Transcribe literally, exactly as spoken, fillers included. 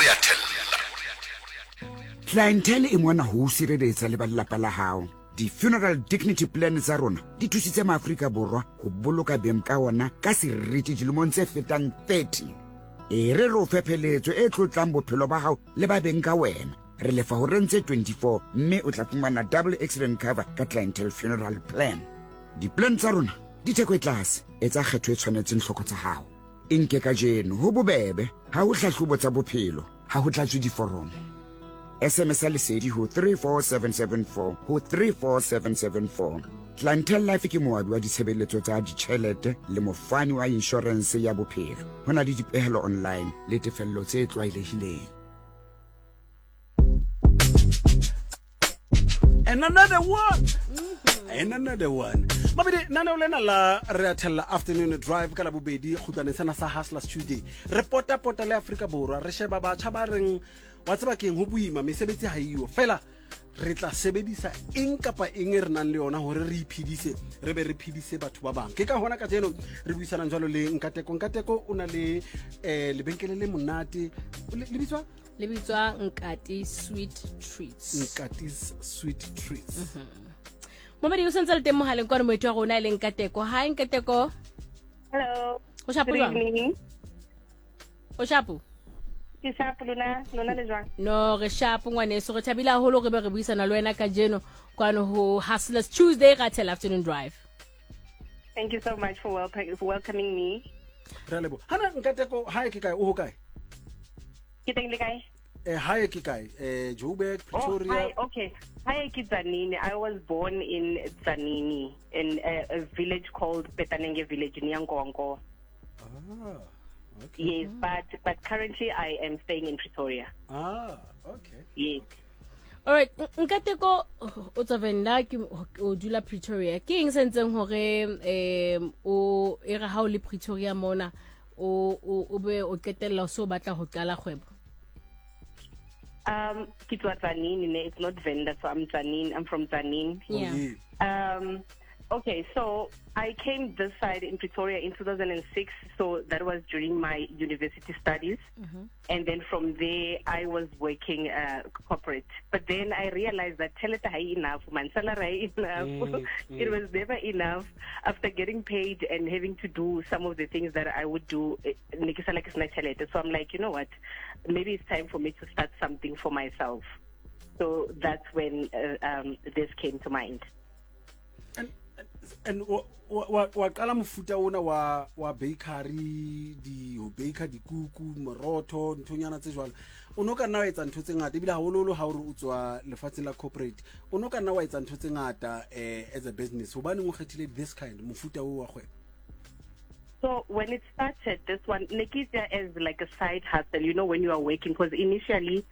Re a thella. Clientele e mona ho o sireletsa le ba lelapa la hao. Di-funeral dignity plan tsa rona di thusitse maAfrika Borwa ho boloka beng ka ona ka seriti dilemong tse fetang thirty. E re re o fe pheletso e tlotlang bophelo ba hao le ba beng ka wena. Re lefa horeng tse twenty-four, mme o tla fumana double accident cover ka Clientele funeral plan. Di-plan tsa rona di theko e tlase. Etsa kgetho e tshwanetseng hloko tsa hao. E nke kajeno, ho bobebe, ha ho hlahlobo tsa bophelo, ha ho tlatswe diforomo. S M S ya Lesedi ho three four seven seven four, ho three four seven seven four. Clientele Life ke moabi wa ditshebeletso tsa ditjhelete le mofani wa inshorense ya bophelo. Ho na le dipehelo online le tefello tse tlwaelehileng. And another one and another one. Mabedi naneo lena la Re a Thella Afternoon Drive ka Labobedi, kgutlwaneng sena sa Hustlers Tuesday, re potapota le Afrika Borwa, re sheba batjha ba reng, wa tseba keng, ho boima, mesebetsi ha iyo, fela re tla sebedisa eng kapa eng e re nang le yona hore re iphedise, re be re phedise batho ba bang. Ke ka hona kajeno re buisanang jwalo le Nkateko. Nkateko o na le um lebenkele le monate, le le bitswa? Le bitswa Nkati Sweet Treats. Nkati's Sweet Treats. Momedi o sentse le teng mohaleng kwane, moeti wa rona e leng Nkateko. Hi, Nkateko. Hello. O shapo Good jwang? evening. O shapo? Ke sharp, lona lona le jwang? No, re shapo, ngwaneso. Re thabile haholo re be re buisana le wena kajeno kwano ho Hustlers Tuesday ka Thella Afternoon Drive. Thank you so much for welcoming, for welcoming me. Re a leboha. Hana Nkateko, hae ke kae? O ho kae? Ke teng, le kae? eh hae ke kae? eh Joburg? Oh, Pretoria? hi. Okay. Hi, ke Tzaneen. I was born in Tzaneen, in a, a village called Petanenge village near Nkowankowa. Ah, okay. Yes, but but currently I am staying in Pretoria. Ah, okay. Yes. Alright, Nkateko, o tswa Venda, ke o dula Pretoria. Ke eng se ntseng hore um o e re ha o le Pretoria mona o o o be o qetella o so batla ho qala kgwebo? Um, ke tswa Tzaneen, ne? It's not Venda, so I'm Tzaneen. I'm from Tzaneen. Yeah. Oh, yeah. Um, okay, so I came this side in Pretoria in two thousand six. So that was during my university studies. And then from there, I was working uh, corporate. But then I realized that tjhelete ha e enough, man, salary enough. Mm, It was never enough. After getting paid and having to do some of the things that I would do, eh, ne ke sala ke sena tjhelete. So I'm like, "You know what? Maybe it's time for me to start something for myself." So that's when uh, um, this came to mind. and and wa wa wa qala mofuta ona wa wa bakery, di ho baker dikuku, morotho, nthonyana tse jwalo. O no ka nna wa etsa ntho tse ngata, ebile haholoholo ha o re o tswa lefatsheng la corporate, o no ka nna wa etsa ntho tse ngata eh, as a business. Hobaneng o kgethile this kind mofuta o wa kgwebo? So when it started, this one, ne ke etsa as like a side hustle, you know, when you are working, because initially